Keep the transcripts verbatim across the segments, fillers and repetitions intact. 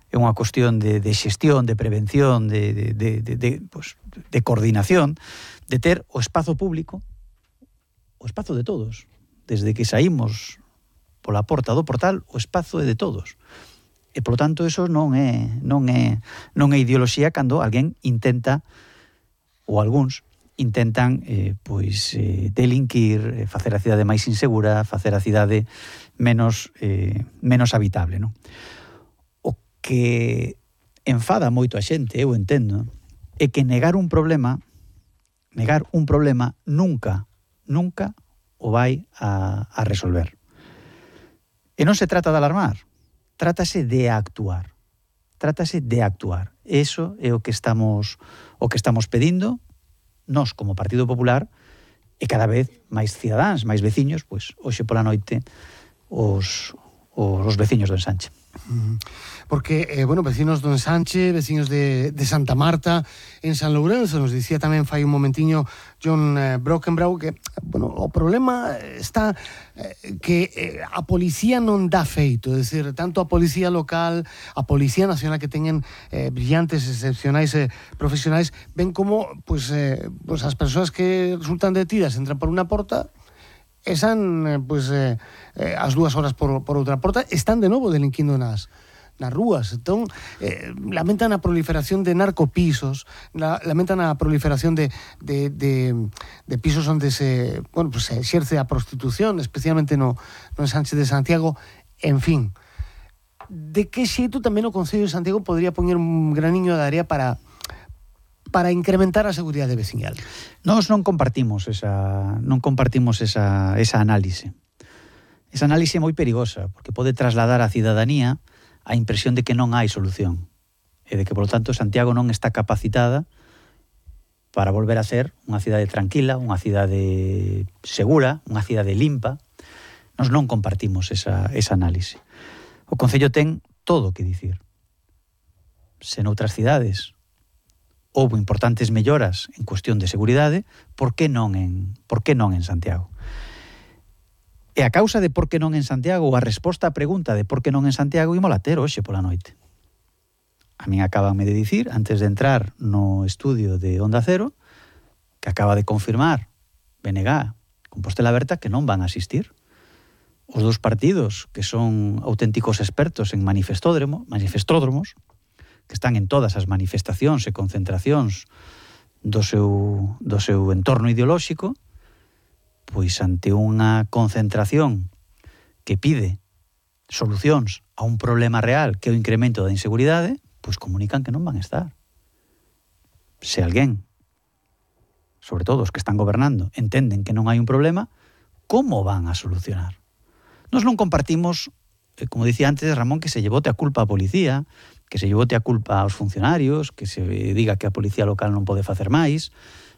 é unha cuestión de, de xestión, de prevención, de, de, de, de, de, pues, de coordinación, de ter o espazo público, o espazo de todos. Desde que saímos pola porta do portal, o espazo é de todos. E, polo tanto, eso non é, non é, non é ideoloxía cando alguén intenta, ou algúns, intentan eh, pois, eh, delinquir, eh, facer a cidade máis insegura, facer a cidade menos, eh, menos habitable, non? Que enfada moito a xente, eu entendo, é que negar un problema, negar un problema nunca, nunca o vai a, a resolver. E non se trata de alarmar, trátase de actuar. Trátase de actuar. Eso é o que estamos o que estamos pedindo nós como Partido Popular e cada vez máis cidadáns, máis veciños, pois hoxe pola noite os os, os veciños do Ensanche. Porque, eh, bueno, vecinos do Ensanche, vecinos de, de Santa Marta, en San Lourenço, nos dicía tamén fai un momentiño John eh, Brockenbrough que, bueno, o problema está eh, que eh, a policía non dá feito, é dicir, tanto a policía local, a policía nacional que teñen eh, brillantes, excepcionais eh, profesionais, ven como pues, eh, pues as persoas que resultan detidas entran por unha porta e san, pues, eh, eh, as dúas horas por, por outra porta, están de novo delinquindo nas, nas rúas. Entón, eh, lamentan a proliferación de narcopisos, la, lamentan a proliferación de, de, de, de pisos onde se, bueno, pues, se exerce a prostitución, especialmente no, no Ensanche de Santiago, en fin. De que xeito tamén o Concello de Santiago podría poñer un graniño de area para... para incrementar a seguridade veciñal? Nós non compartimos esa non compartimos esa esa análise. Esa análise é moi perigosa, porque pode trasladar á cidadanía a impresión de que non hai solución e de que, por lo tanto, Santiago non está capacitada para volver a ser unha cidade tranquila, unha cidade segura, unha cidade limpa. Nós non compartimos esa, esa análise. O Concello ten todo o que dicir. Se noutras cidades houbo importantes melloras en cuestión de seguridade, por que non en, por que non en Santiago? E a causa de por que non en Santiago, ou a resposta á pregunta de por que non en Santiago, imola ter hoxe pola noite. A min acabanme de dicir, antes de entrar no estudio de Onda Cero, que acaba de confirmar B N G, Compostela Aberta, que non van a asistir. Os dous partidos, que son auténticos expertos en manifestódromo, manifestódromos, que están en todas as manifestacións e concentracións do seu, do seu entorno ideolóxico, pois ante unha concentración que pide solucións a un problema real que é o incremento da inseguridade, pois comunican que non van a estar. Se alguén, sobre todo os que están gobernando, entenden que non hai un problema, como van a solucionar? Nós non compartimos, como dicía antes Ramón, que se llevote a culpa a policía, que se llevote a culpa aos funcionarios, que se diga que a policía local non pode facer máis.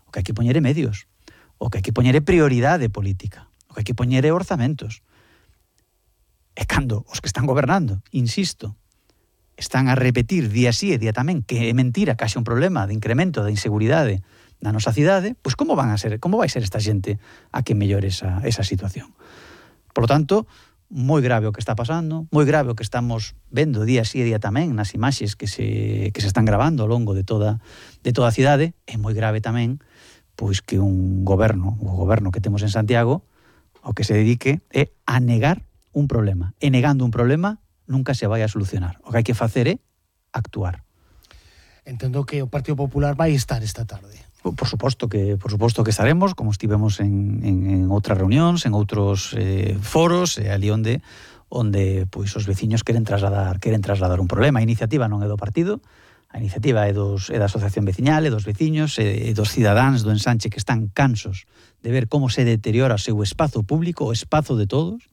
O que hai que poñer é medios, o que hai que poñer é prioridade política, o que hai que poñer é orzamentos. E cando os que están gobernando, insisto, están a repetir día sí e día tamén que é mentira que haxe un problema de incremento da inseguridade na nosa cidade, pois como van a ser, como vai ser esta xente a que mellore esa, esa situación? Por lo tanto, moi grave o que está pasando, moi grave o que estamos vendo día sí e día tamén nas imaxes que se, que se están grabando ao longo de toda, de toda a cidade, e moi grave tamén pois que un goberno, o goberno que temos en Santiago, o que se dedique é a negar un problema. E negando un problema nunca se vai a solucionar. O que hai que facer é actuar. Entendo que o Partido Popular vai estar esta tarde. Por suposto que por suposto que estaremos, como estivemos en, en, en outras reunións, en outros eh, foros, eh, ali onde onde pois os veciños queren trasladar queren trasladar un problema. A iniciativa non é do partido, a iniciativa é dos é da asociación veciñal, é dos veciños, é, é dos cidadáns do Ensanche que están cansos de ver como se deteriora o seu espazo público, o espazo de todos,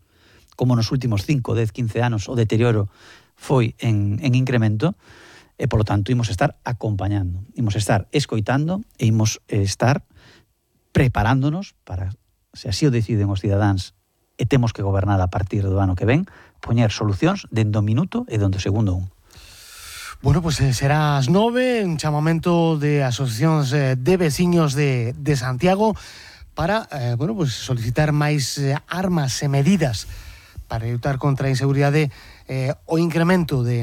como nos últimos cinco, dez, quince anos o deterioro foi en, en incremento. E, polo tanto, imos estar acompañando, imos estar escoitando e imos estar preparándonos para, se así o deciden os cidadáns e temos que gobernar a partir do ano que ven, poñer solucións dende o minuto e dende o segundo un. Bueno, pues eh, será ás nove, un chamamento de asociacións eh, de veciños de, de Santiago para, eh, bueno, pues solicitar máis eh, armas e medidas para lutar contra a inseguridade, eh, o incremento de